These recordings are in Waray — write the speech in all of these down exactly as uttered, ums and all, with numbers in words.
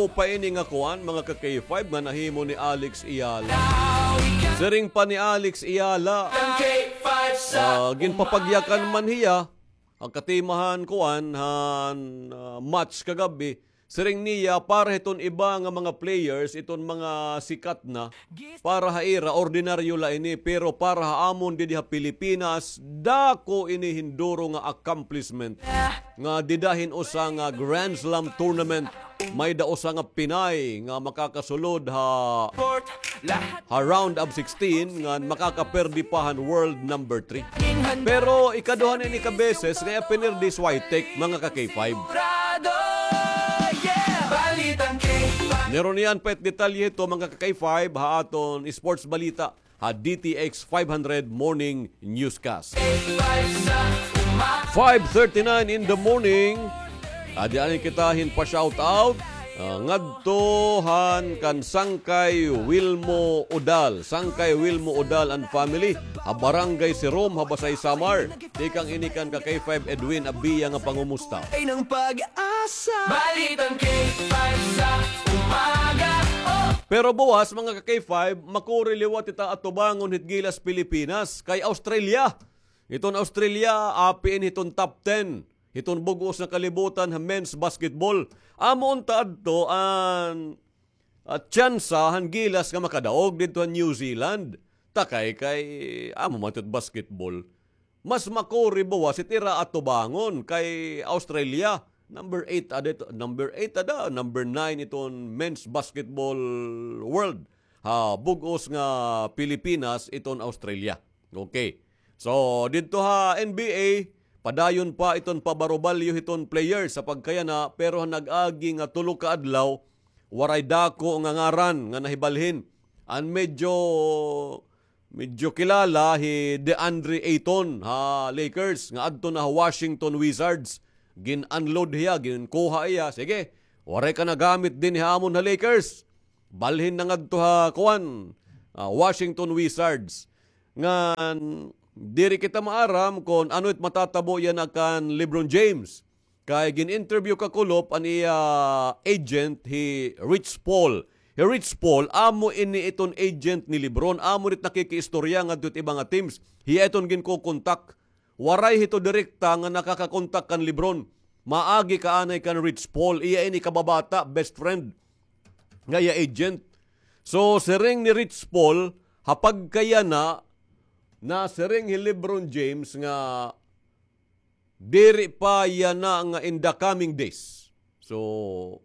pa ini nga kuan, mga ka-K five, nga nahimo ni Alex Eala. Siring pa ni Alex Eala, ah, ginpapagyakan man hiya ha katimahan kuan han, ah, match kagab-i. Siring niya, para hiton iba nga mga players, iton mga sikat na, para ha ira, ordinaryo la ini, pero para ha amon didi ha Pilipinas, dako ini hin duro nga accomplishment. Nga dida hin usa nga Grand Slam tournament, may-ada usa nga Pinay nga makakasulod ha, ha round of sixteen, nga makakaperdi pa han world number three. Pero ikaduha na ini ka beses nga iya pinirdi hi Swiatek, mga ka-K five. Meron niyan pa it detalye hito, mga ka-K five, ha aton sports balita ha D T X five hundred Morning Newscast. Five thirty-nine in the morning. Adi anay kita hin pa-shout out. Ah, ngadto han kan Sangkay Wilmo Udal. Sangkay Wilmo Udal and family. Ha Barangay Sirom, ha Basay, Samar. Tikang ini kan ka-K five Edwin Abia nga pangumusta. Ay ng pag-asa. Balitang K five sa umaga. Oh! Pero buwas, mga ka-K five, makuri liwat kita atubangon hit gilas Pilipinas kay Australia. Hiton Australia, apiin hiton top ten hiton bug-os nga kalibutan ha men's basketball. Amo unta adto an, ah, tsansa han gilas nga makadaog didto ha New Zealand. Takay kay amo man it basketball. Mas makuri buwas it ira atubangon kay Australia. Number eight ada ito, number eight ada, number nine iton men's basketball world. Ha bug-os nga Pilipinas iton Australia. Okay. So, didto ha N B A, padayon pa iton pabarubalyo hiton player sa pagkayana, pero ha nag-agi nga tulo ka adlaw, waray dako nga ngaran nga nahibalhin. An medyo, medyo kilala hi DeAndre Ayton ha Lakers, nga adto na ha Washington Wizards. Gin-unload hiya, ginkuha hiya. Sige, waray ka nagamit dinhi ha amon ha Lakers. Balhin na ngadto ha, kuan, ah, Washington Wizards. Ngan, diri kita maaram kon ano it matatabo yana kan LeBron James. Kay gin-interview kakulop an iya agent, hi Rich Paul. Hi Rich Paul, amo ini iton agent ni LeBron. Amo ini it nakikiistorya ngadto it iba nga teams. Hiya iton ginkokontak. Waray hito direkta nga nakakakontak kan LeBron. Maagi ka anay kan Rich Paul. Iya ini kababata, best friend nga iya agent. So, siring ni Rich Paul, ha pagkayana, nasiring hi LeBron James nga diri pa yana nga in the coming days. So,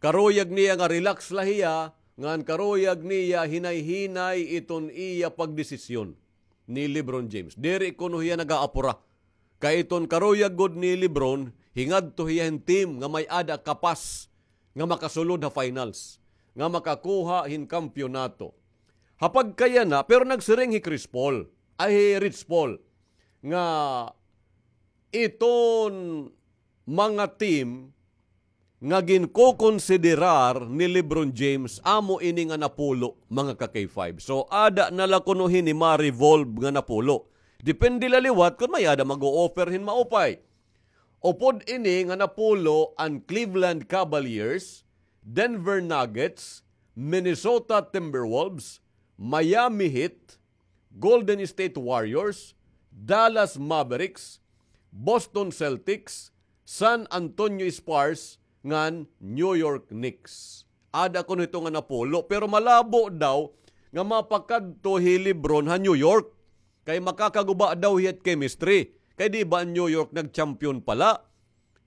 karuyag niya nga relax la hiya, ngan karuyag niya hinay-hinay iton iya pagdesisyon ni LeBron James. Diri kuno hiya nag-aapura. Kay iton karuyag gud ni LeBron, hingadto hiya hin team nga may-ada kapas nga makasulod ha finals, nga makakuha hin kampiyonato. Ha pagkayana, pero nagsiring hi Chris Paul, ay hi Rich Paul, nga iton mga team nga ginkokonsiderar ni LeBron James, amo ini nga napulo, mga ka-K five. So, ada na la kuno hini ma-revolve nga napulo. Depende la liwat kon may-ada mag-o-offer hin maupay. Upod ini nga napulo an Cleveland Cavaliers, Denver Nuggets, Minnesota Timberwolves, Miami Heat, Golden State Warriors, Dallas Mavericks, Boston Celtics, San Antonio Spurs, ngan New York Knicks. Ada kuno hito nga napulo, pero malabo daw nga mapakadto hi LeBron ha New York. Kay makakaguba daw hiya hit chemistry. Kay di ba an New York nag-champion pa la?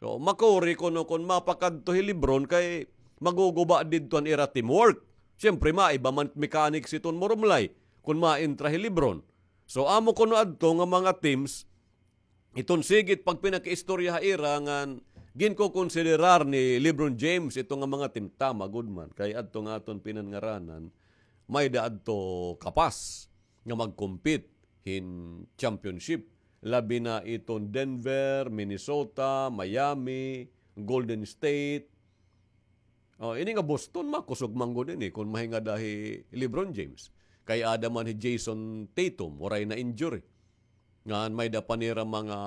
So, makuri kuno kon mapakadto hi LeBron kay maguguba didto an ira teamwork. Siyempre, maiba man mechanics iton murumlay kon maentra hi LeBron. So, amo kuno adto nga mga teams, iton sige it pagpinakiistorya ha ira ngan ginkokonsiderar ni LeBron James ito nga mga team, tama gud man. Kay adto nga aton pinanngaranan, may-ada adto kapas nga mag-compete hin championship. Labi na iton Denver, Minnesota, Miami, Golden State. Oh, ini nga Boston, makusog man gud ini kon mahingada hi LeBron James. Kay ada man hi Jayson Tatum, waray na injury. Ngan may-ada pa nira mga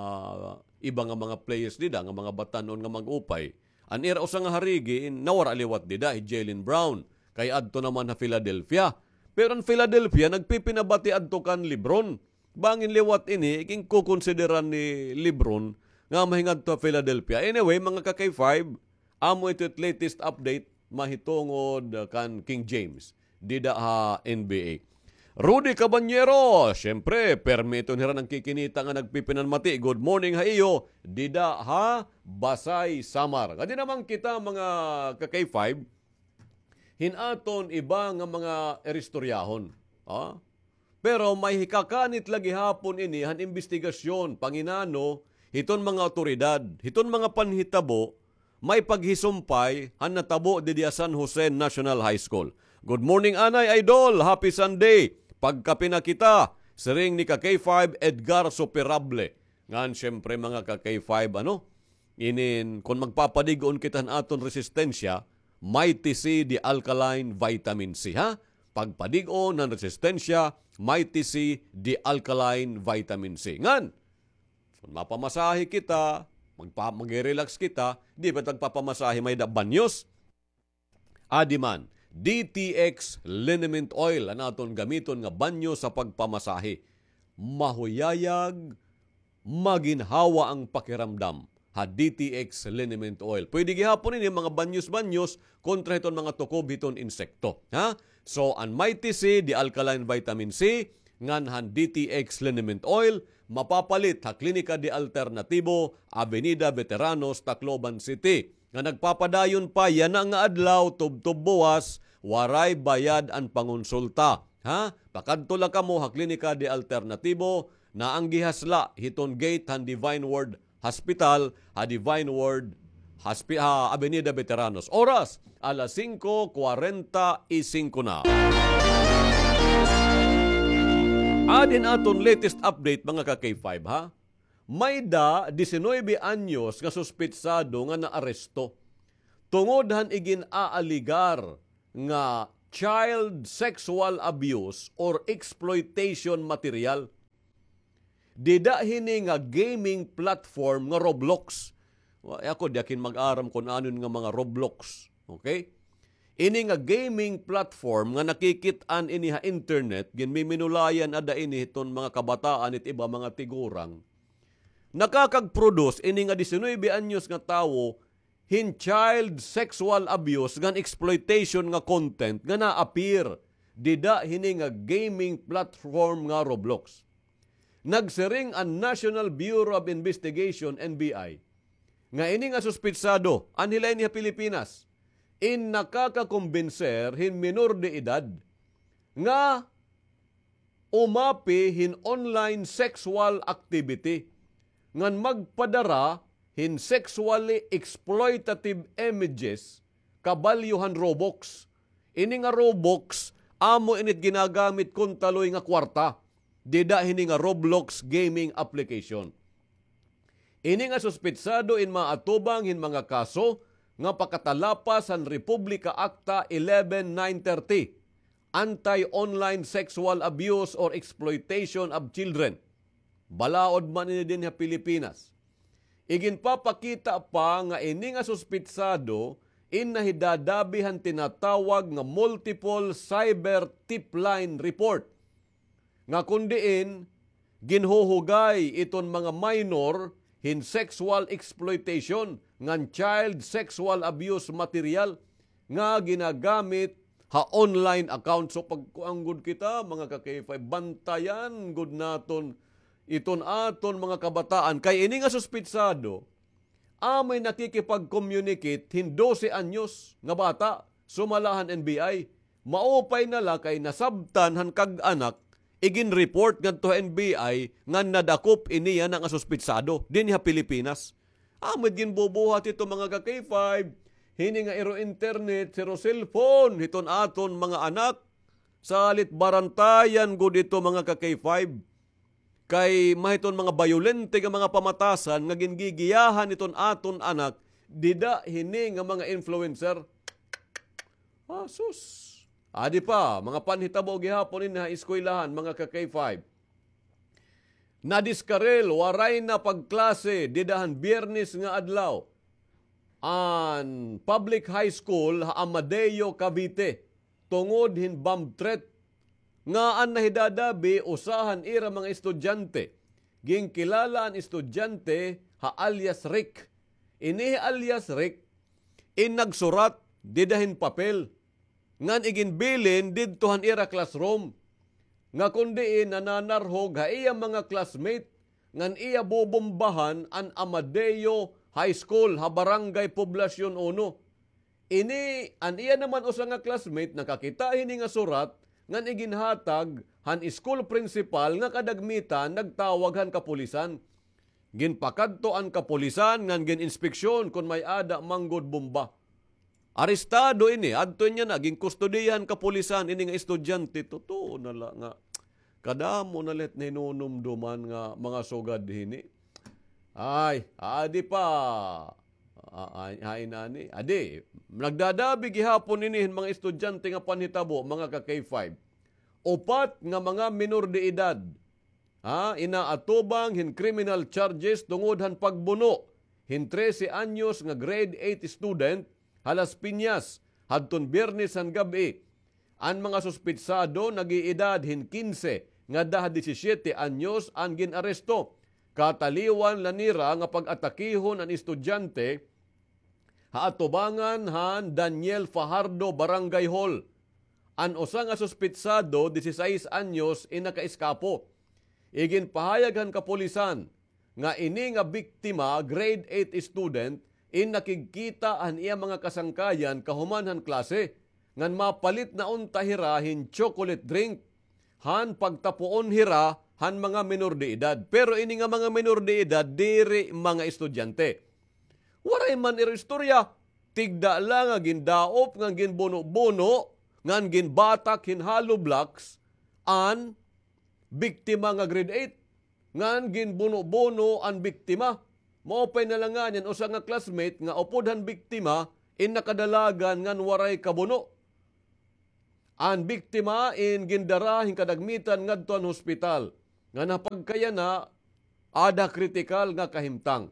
iba nga mga players dida, nga mga batan-on nga mag-upay. An ira usa nga harigi, in, nawara liwat dida, hi Jaylen Brown. Kay adto naman ha Philadelphia. Pero an Philadelphia, nagpipinabati adto kan LeBron. Bangin liwat ini, iginkukonsideran ni LeBron nga mahingadto ha Philadelphia. Anyway, mga ka-K five, amo ito it latest update mahitungod, uh, kan King James dida ha N B A. Rudy Cabanyero, siyempre, permi ito nira nagkikinita nga nagpipinanmati. Good morning ha iyo, dida ha Basay, Samar. Kadi naman kita, mga ka-K five, hin aton iba nga mga iristoryahon. Ha? Pero may hikakanit la gihapon ini han imbestigasyon, panginano, hiton mga awtoridad, hiton mga panhitabo, may paghisumpay han natabo didi ha San Jose National High School. Good morning, Anay Idol. Happy Sunday. Pagkape na kita, siring ni ka-K five Edgar Superable. Ngan, siyempre, mga ka-K five, ano? Inin, kon magpapadig-on kita han aton resistensya, Mighty C, the alkaline vitamin C, ha? Pagpadig-on han resistensya, Mighty C, the alkaline vitamin C. Ngan, kon mapamasahe kita, magpa-, magre-relax kita, di ba magpapamasahe may da banyos? Adi man, D T X liniment oil an aton gamiton nga banyo sa pagpamasahe. Mahuyayag, maginhawa ang pakiramdam ha D T X liniment oil. Pwede gihapon ini mga banyos-banyos kontra hiton mga tukob hiton insekto. Ha? So, an Mighty C, the alkaline vitamin C, ngan han D T X liniment oil, mapapalit ha Klinika de Alternatibo, Avenida Veteranos, Tacloban City. Nga nagpapadayon pa yana nga adlaw, tubtob buwas, waray bayad an pangonsulta. Ha? Pakadto la kamo ha Klinika de Alternatibo, naanggihas la hiton gate han Divine Word Hospital, ha Divine Word Hospi-, ha Avenida Veteranos. Oras, alas singko kwarenta y singko na. Adin aton latest update, mga ka-K five, ha? May da diecinuebe anyos nga suspetsado nga naaresto tungod han igin-aaligar nga child sexual abuse or exploitation material. Dida hini nga gaming platform nga Roblox. Wa, ako, di ako hin mag-aram kon ano nga mga Roblox. Okay? Ini nga gaming platform nga nakikit-an ini ha internet, ginmiminulayan ada ini hiton mga kabataan it iba mga tigurang. Nakakag-produce ini nga diecinuebe anyos nga tawo hin child sexual abuse ngan exploitation nga content nga na-appear dida hini nga gaming platform nga Roblox. Nagsiring an National Bureau of Investigation, N B I, nga ini nga suspetsado, anhi la ini ha Pilipinas, in nakakakumbinser hin minor de edad nga umapi hin online sexual activity ngan magpadara hin sexually exploitative images kabalyo han Robux. Ini nga Robux, amo ini it ginagamit kon taloy nga kwarta dida hini nga Roblox gaming application. Ini nga suspetsado in maatubang hin mga kaso nga pakatalapas han Republika Acta eleven nine thirty, Anti-Online Sexual Abuse or Exploitation of Children. Balaod man ini dinhi ha Pilipinas. Iginpapakita pa nga ini nga suspetsado in nahidadabi han tinatawag nga multiple cyber tip line report, nga kon diin ginhuhugay iton mga minor hin sexual exploitation ngan child sexual abuse material nga ginagamit ha online account. So, pagkuan gud kita, mga ka-K five, bantayan gud naton iton aton mga kabataan. Kay ini nga suspetsado, amoy nakikipag-communicate hin dose anyos nga bata, sumala han N B I. Maupay na la kay nasabtan han kag-anak, igin-report ngadto ha N B I nga nadakop ini yana nga suspetsado dinhi ha Pilipinas. Amo it ginbubuhat hito, mga ka-K five, hini nga iro internet, siro cellphone hiton aton mga anak. Salit barantayan gud ito, mga ka-K five. Kay mahiton mga bayolente nga mga pamatasan nga gingigiyahan hiton aton anak dida hini nga mga influencer. Ah, sus. Adi pa, mga panhitabo gihapon ini ha eskwelahan, mga ka-K five. Nadiskaril, waray na pagklase dida han Biyernes nga adlaw. an public high school ha Amadeo, Cavite, tungod hin bomb threat nga an nahidadabi usa han ira mga estudyante. Ginkilala an estudyante ha alias Rick. Ini alias Rick in nagsurat dida hin papel ngan iginbilin didto han ira classroom nga kon diin nananarhog ha iya mga classmate ngan iya bobombahan an Amadeo High School ha Barangay Poblacion Uno. Ini an iya naman usa nga classmate nakakita hini nga surat ngan iginhatag han school principal nga kadagmitan nagtawag han kapulisan. Ginpakadto an kapulisan ngan gin-inspeksyon kon may-ada man gud bomba. Arestado ini, adto niya na, ginkustodiya han kapulisan ini nga estudyante. Totoo na la nga kadamo na la it nahinunumduman nga mga sugad hini. Ay, adi pa. A-, ay, ay, nani. Adi, nagdadabi gihapon ini hin mga estudyante nga panhitabo, mga ka-K five. Upat nga mga minor de edad, ha, inaatubang hin criminal charges tungod han pagbuno hin trese anyos nga grade eight student ha Las Piñas hadton Biyernes han gab-i. An mga suspitsado nag-iedad hin kinse ngada ha disisiyete anyos an gin-aresto. Kataliwan la nira nga pag-atakihon an estudyante ha atubangan han Daniel Fajardo Barangay Hall. An usa nga suspitsado, disisais anyos, in nakaeskapo. Iginpahayag han kapulisan nga ini nga biktima, grade eight student, in nakigkita han iya mga kasangkayan kahuman han klase, ngan mapalit na unta hira hin chocolate drink han pagtapuon hira han mga menor de edad. Pero ini nga mga menor de edad, diri mga estudyante. Waray man ira istorya, tigda la nga gindaop ngan ginbuno-buno ngan ginbatak hin hollow blocks an biktima nga grade eight, ngan ginbuno-buno an biktima. Maupay na la ngani an usa nga classmate nga upod han biktima in nakadalagan ngan waray kabuno. An biktima in gindara hin kadagmitan ngadto han hospital, ngan ha pagkayana, ada ha kritikal nga kahimtang.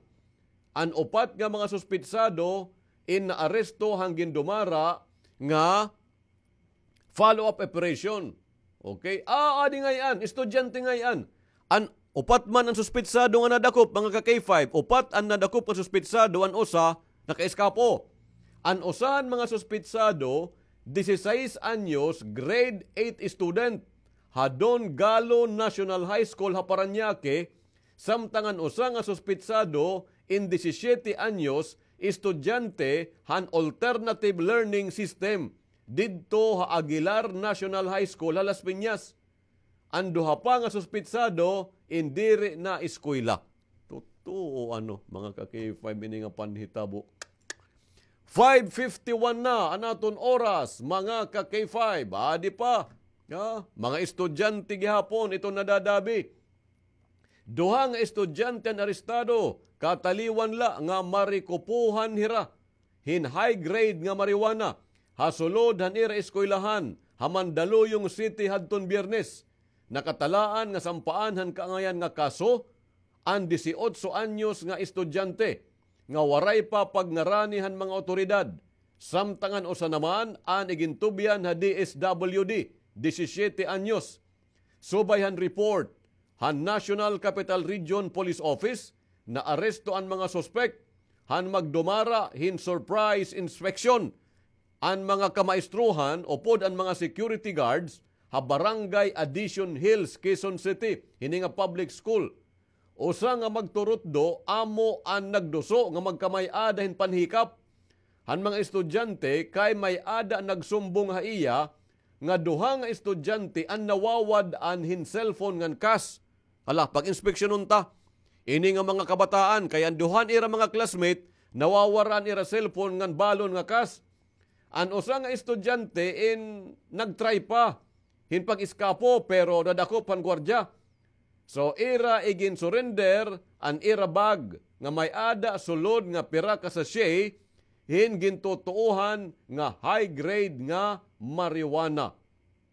An upat nga mga suspitsado in naaresto han gindumara nga follow-up operation. Okay? Ah, adi ngay-an, estudyante ngay-an. An upat man an suspitsado nga nadakop, mga ka-K five, upat an nadakop nga suspitsado, an usa nakaeskapo. An usa han mga suspitsado, disisais anyos, grade eight student ha Don Galo National High School ha Parañaque, samtang an usa nga suspitsado in disisiyete anyos, estudyante han Alternative Learning System didto ha Aguilar National High School ha Las Piñas. An duha pa nga suspitsado in diri naeskwela. Totoo, ano, mga ka-K five, ini nga panhitabo. Five fifty-one na an aton oras, mga ka-K five. Adi pa, ha? Mga estudyante gihapon iton nadadabi. Duha nga estudyante an arestado, kataliwan la nga marikupohan hira hin high grade nga marijuana ha sulod han ira eskwelahan ha Mandaluyong City hadton Biyernes. Nakatalaan nga sampaan han kaangayan nga kaso an disiotso anyos nga estudyante nga waray pa pagngarani han mga awtoridad, samtang an usa naman an igintubyan ha D S W D, disisiyete anyos. Subay han report han National Capital Region Police Office, naaresto an mga suspek han magdumara hin surprise inspection an mga kamaestrohan upod an mga security guards ha Barangay Addition Hills, Quezon City, hini nga public school. Usa nga magturutdo amo an nagduso nga magkamay-ada hin panhikap han mga estudyante kay may-ada nagsumbong ha iya nga duha nga estudyante an nawawad-an hin cellphone ngan cash. Hala, pag-inspeksyonon ta ini nga mga kabataan kay an duha nira mga classmate nawawad-an ira cellphone ngan balon nga cash. An usa nga estudyante in nag-try pa hin pag-eskapo pero nadakop han gwardiya. So, ira igin-surrender an ira bag nga may-ada sulod nga pira ka sachet hin gintutuohan nga high grade nga marijuana.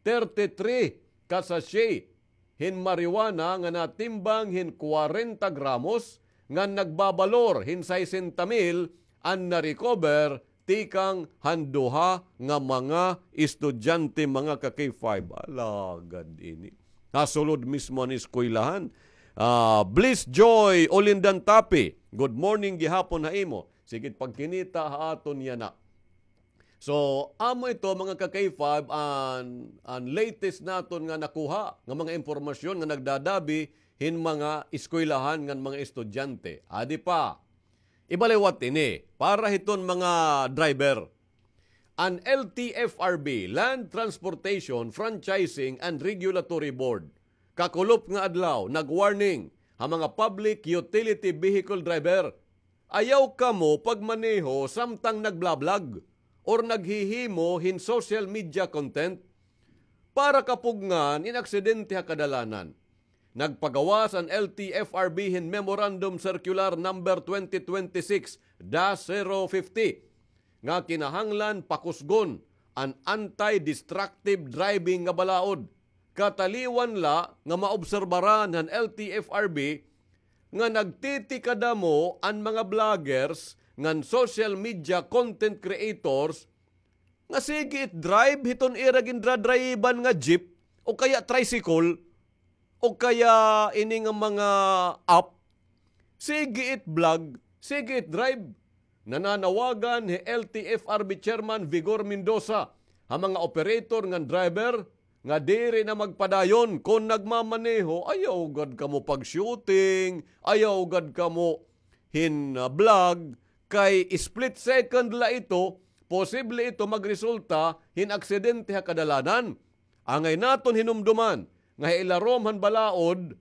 Thirty-three ka sachet hin marijuana nga natimbang hin kwarenta gramos ngan nagbabalor hin sesenta mil an na-recover tikang han duha nga mga estudyante, mga ka-K five. Alagad ini. Ha sulod mismo han eskwelahan. Ah, Bliss Joy Olindan Tapi, good morning gihapon ha imo. Sige it pagkinita ha aton yana. So, amo ito, mga ka-K five, an, an latest naton nga nakuha nga mga impormasyon nga nagdadabi hin mga eskwelahan ngan mga estudyante. Adi pa, ibaliwat ini para hiton mga driver. An L T F R B, Land Transportation Franchising and Regulatory Board, kakulop nga adlaw, nag-warning ha mga public utility vehicle driver. Ayaw kamo pagmaneho samtang nagblablag or naghihimo hin social media content para kapugngan in aksidente ha kadalanan. Nagpagawas an L T F R B hin Memorandum Circular Number twenty twenty-six dash zero fifty nga kinahanglan pakusgon an anti-destructive driving nga balaod. Kataliwan la nga maobserbaran han L T F R B nga nagtitikadamo an mga vloggers ngan social media content creators nga sige it drive hiton ira gindradrayiban nga jeep o kaya tricycle o kaya ini nga mga app. Sige it vlog, sige it drive. Nananawagan hi L T F R B Chairman Vigor Mendoza ha mga operator ngan driver nga diri na magpadayon kon nagmamaneho. Ayaw gad kamo pag-shooting, ayaw gad kamo hin, ah, vlog, kay split second la ito, posible ito magresulta hin aksidente ha kadalanan. Angay naton hinumduman nga ha ilarom han balaod,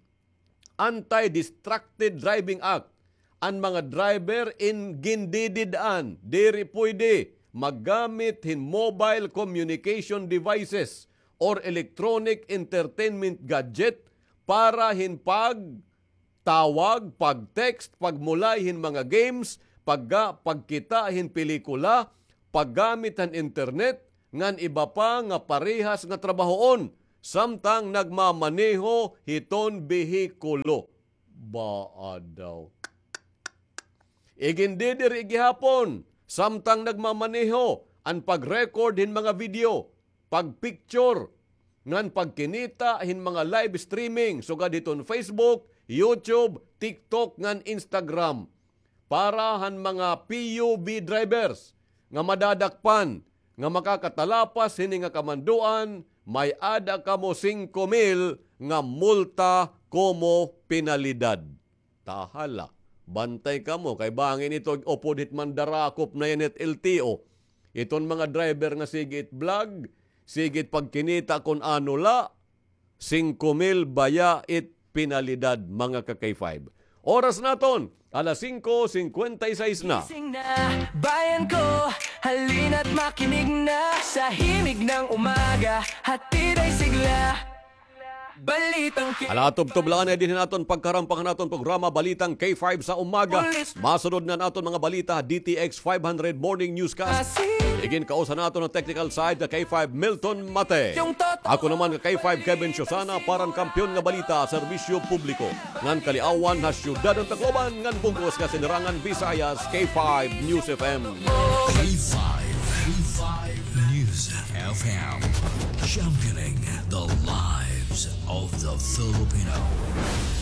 Anti-Distracted Driving Act, an mga driver in gindidid-an diri pwede maggamit hin mobile communication devices or electronic entertainment gadget para hin pagtawag, pag-text, pagmulay hin mga games, pagga-, pagkita hin pelikula, paggamit han internet, ngan iba pa nga parehas nga trabahoon samtang nagmamaneho hiton behikulo. Baa daw. Igindidiri gihapon samtang nagmamaneho an pag-record hin mga video, pag-picture, ngan pagkinita hin mga live streaming sugad hiton Facebook, YouTube, TikTok, ngan Instagram. Para han mga P U V drivers nga madadakpan nga makakatalapas hini nga kamanduan, may-ada kamo singko mil nga multa komo penalidad. Tahala, bantay kamo kay bangin ito upod hit mandarakop na yana hit L T O. Iton mga driver nga sige it vlog, sige it pagkinita kon ano la, singko mil baya it penalidad, mga ka-K five. Oras naton, alas singko singkwenta y seis na. Gising na, bayan ko, halina't makinig na sa himig ng umaga, hatid ay sigla. Balitang K-, Hala, tubtob la anay dinhi han aton pagkarampang han aton programa, Balitang K five sa Umaga. Masunod na an aton mga balita ha D T X five hundred Morning Newscast. Iginkausa naton han technical side nga K five Milton Mate. Ako naman nga K five Kevin Siosana para han Kampiyon nga Balita, Serbisyo Publiko ngan Kaliawan ha Syudad han Tacloban ngan bug-os nga Sinirangan Visayas, K five News F M. K five, K five News F M, championing the lives of the Filipino.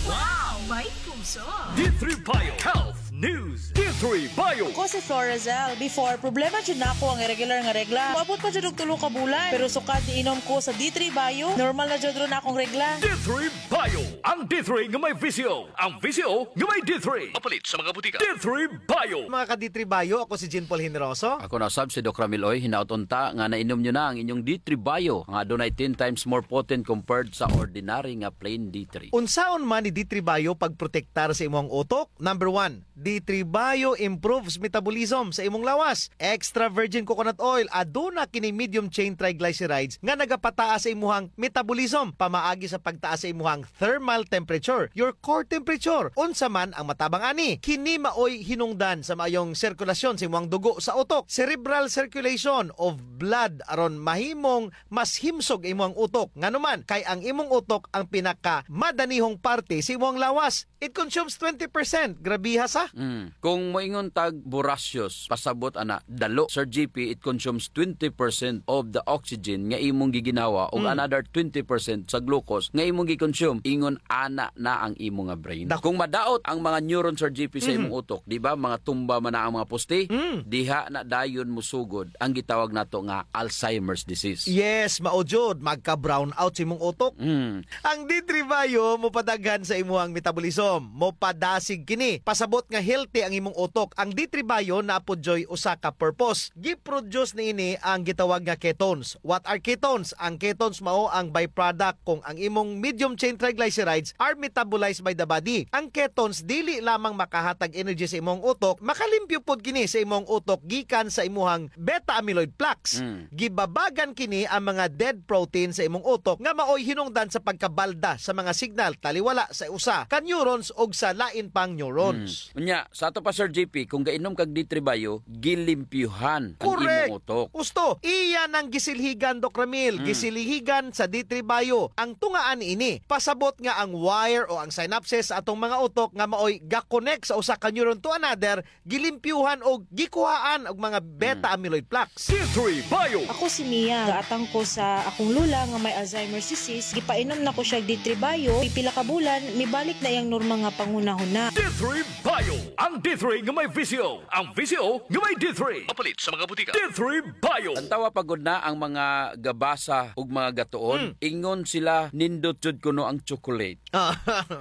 Wow! May puso! D three Bio Health News. D three Bio. Ako si Florazel. Before, problema jud nako ang irregular nga regla. Moabot pa jud og tulo ka bulan. Pero sukad niinom ko sa D three Bio, normal na jud ron akong regla. D three Bio. Ang D three nga may V C O. Ang V C O nga may D three. Mapalit sa mga butika. D three Bio. Mga ka-D three Bio, ako si Jean Paul Generoso. Ako na sab si Doc Ramil Oy. Hinaot unta nga nainom nyo na ang inyong D three Bio, nga adunay ten times more potent compared sa ordinary nga plain D three. Unsaon man ni D three Bio pagprotektar sa imuhang utok? Number one, D three Bio improves metabolism sa imong lawas. Extra virgin coconut oil, aduna kini medium chain triglycerides nga nagapataas sa imuhang metabolism pamaagi sa pagtaas sa imuhang thermal temperature, your core temperature. Unsa man ang matabang ani? Kini maoy hinungdan sa maayong sirkulasyon sa imuhang dugo sa utok, cerebral circulation of blood, aron mahimong mas himsog imuhang utok. Ngano man? Kay ang imong utok ang pinakamadanihong parte sa imuhang lawas. It consumes twenty percent. Grabiha sa. Mm. Kung moingon tag voracious, pasabot ana, dalo. Sir G P, it consumes twenty percent of the oxygen nga imong giginhawa ug Mm. another twenty percent sa glucose nga imong gi-consume. Ingon ana na ang imo nga brain. Dak- Kung madaot ang mga neuron, Sir G P, sa Mhm. imong utok, di ba, mga tumba man na ang mga poste, Mm. diha na dayon mosugod ang gitawag nato nga Alzheimer's disease. Yes, mao jud, magka-brown out sa imong utok. Mm. Ang D three Bio mopadaghan sa imuhang metabolism. Mopadasig kini. Pasabot nga healthy ang imong utok. Ang D three Bio naa pod dyoy usa ka purpose. Gi-produce niini ang gitawag nga ketones. What are ketones? Ang ketones mao ang byproduct kung ang imong medium chain triglycerides are metabolized by the body. Ang ketones dili lamang makahatag energy sa imong utok, makalimpyo pod kini sa imong utok gikan sa imuhang beta amyloid plaques. Mm. Gibabagan kini ang mga dead protein sa imong utok nga maoy hinungdan sa pagkabalda sa mga signal taliwala sa usa ka neurons ug sa lain pang neurons. Mm. Unya, sa ato pa, Sir G P, kung gainom kag D three Bio, gilimpyuhan ang Correct. imong utok. Husto, iya nang gisilhigan, Doc Ramil, Mm. gisilhigan sa D three Bio. Ang tungaan ini, pasabot nga ang wire o ang synapses sa atong mga utok nga maoy ga-connect sa usa ka neuron to another, gilimpyuhan o gikuhaan og mga beta Mm. amyloid plaques. D three Bio. Ako si Mia. Gaatang ko sa akong lola nga may Alzheimer's disease. Gipainom na ko siya D three Bio. Pipila ka bulan, mibalik na iyang normal nga panghunahuna. D three Bio. Ang D three nga may V C O. Ang V C O nga may D three. Mapalit sa mga butika. D three Bio. Tan-awa pa gud na ang mga gabasa ug mga gatuon. Mm. Ingon sila, nindot jud kuno ang chocolate. Ah.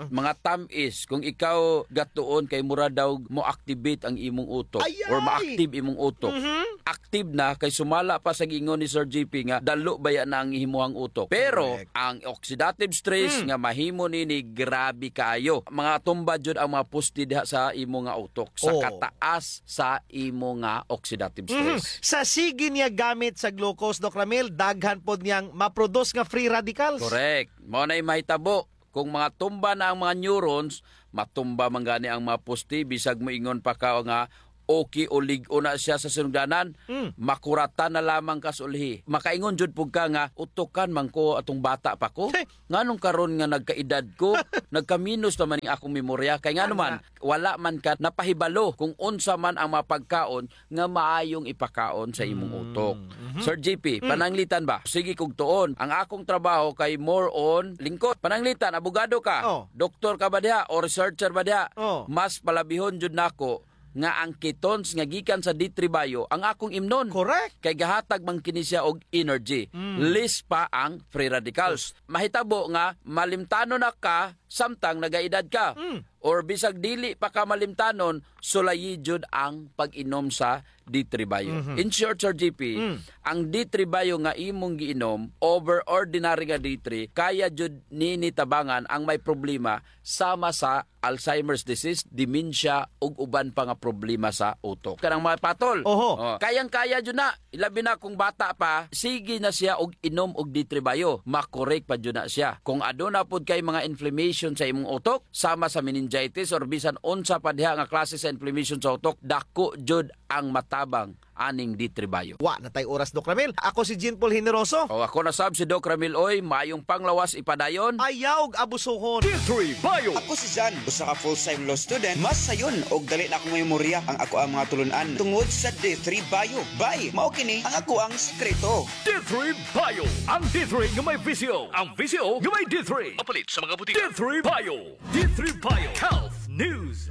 Mga tam-is, kung ikaw gatuon kay mura daw mo-activate ang imong utok Ay, or ay! ma-active imong utok. Mhm. Active na kay sumala pa sa giingon ni Sir G P nga dalo baya na ang imuhang utok. Pero Correct. ang oxidative stress Hmm. nga mahimo nini grabe kaayo. Mga tumba jud ang mga poste diha sa imo nga utok sa Oo. kataas sa imo nga oxidative Mhm. stress. Sa sige niya gamit sa glucose, Doc Ramil, daghan pod niyang ma-produce nga free radicals. Correct. Mao na'y mahitabo. Kung mga tumba na ang mga neurons, matumba man gani ang mga poste, bisag moingon pa ka nga okay o lig-on na siya sa sinugdanan, Mm. makuratan na lamang ka sa ulhi. Makaingon jud pud ka nga, "Utukan man ko atong bata pa ko. Hey! Nganong karon nga nagkaedad ko, nagkaminos naman ning akong memorya?" Kay ngano man, Ana. wala man ka napahibalo kung unsa man ang mga pagkaon nga maayong ipakaon sa imong Mm. utok. Mhm. Sir G P, Mm. pananglitan ba? Sige kog tuon. Ang akong trabaho kay more on lingkod. Pananglitan, abogado ka? Oh. Doktor ka ba diha? O researcher ba diha? Oh. Mas palabihon jud nako nga ang ketones nga gikan sa D three Bio ang akong imnon. Correct. Kay gahatag man kini siya og energy. Mm. Less pa ang free radicals. Mahitabo nga malimtanon na ka samtang nagaedad ka. Mm. Or bisag dili pa ka malimtanon, sulayi jud ang pag-inom sa D three Bio. Mhm. In short, Sir G P, Mm. ang D three Bio nga imong giinom, over ordinary nga D three, kaya jud nini tabangan ang may problema sama sa Alzheimer's disease, dementia, ug uban pa nga problema sa utok. Kanang mga patol. Oho. Oh, kayang-kaya jud na. Ilabi na kung bata pa, sige na siya og inom og D three Bio. Makorek pa jud na siya. Kung aduna pod kay mga inflammation sa imong utok, sama sa meningitis or bisan unsa pa diha nga klase sa inflammation sa utok, dako jud ang matabang aning D three Bio. Wa na tay oras, Doc Ramil. Ako si Jean Paul Generoso. O, ako na sab si Doc Ramil Uy. Maayong panglawas ipadayon. Ayaw og abusuhon. D three Bio. Ako si Jan, usa ka full-time law student. Mas sayon og dali na akong memorya ang akoang mga tulun-an tungod sa D three Bio. Bay, mao kini ang akoang sikreto. D three Bio. Ang D three nga may V C O. Ang V C O nga may D three. Mapalit sa mga butika. D three Bio. D three Bio Health News.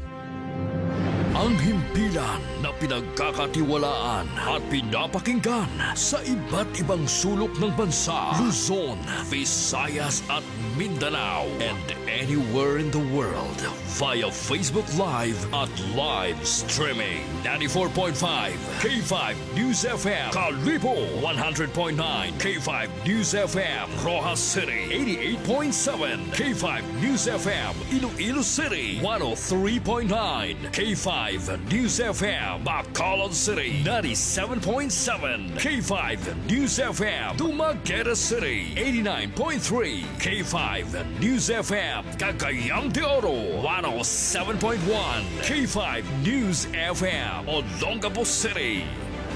Ang himpilan na pinagkakatiwalaan at pinapakinggan sa iba't ibang sulok ng bansa, Luzon, Visayas at Mindanao, and anywhere in the world via Facebook Live at live streaming. Ninety-four point five K five News F M, Kalibo, one hundred point nine K five News F M, Roxas City, eighty-eight point seven K five News F M, Iloilo City, one oh three point nine K five News F M, Bacolod City, ninety-seven point seven K five News F M, Dumaguete City, eighty-nine point three K five News F M, Cagayan de Oro, one oh seven point one K five News F M, Olongapo City.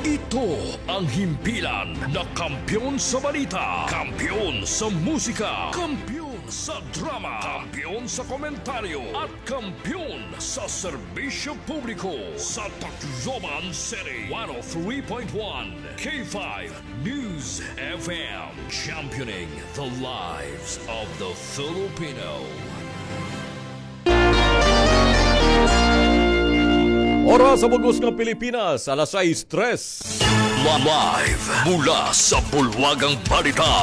Ito ang himpilan na kampiyon sa balita, kampiyon sa musika, kampiyon Sa drama, kampiyon sa komentaryo, at kampiyon sa serbisyo publiko. Sa Tacloban City, one oh three point one K five News F M, championing the lives of the Filipino. Oras sa bug-os nga Pilipinas, alas sais tres. Live mula sa Bulwagang Balita.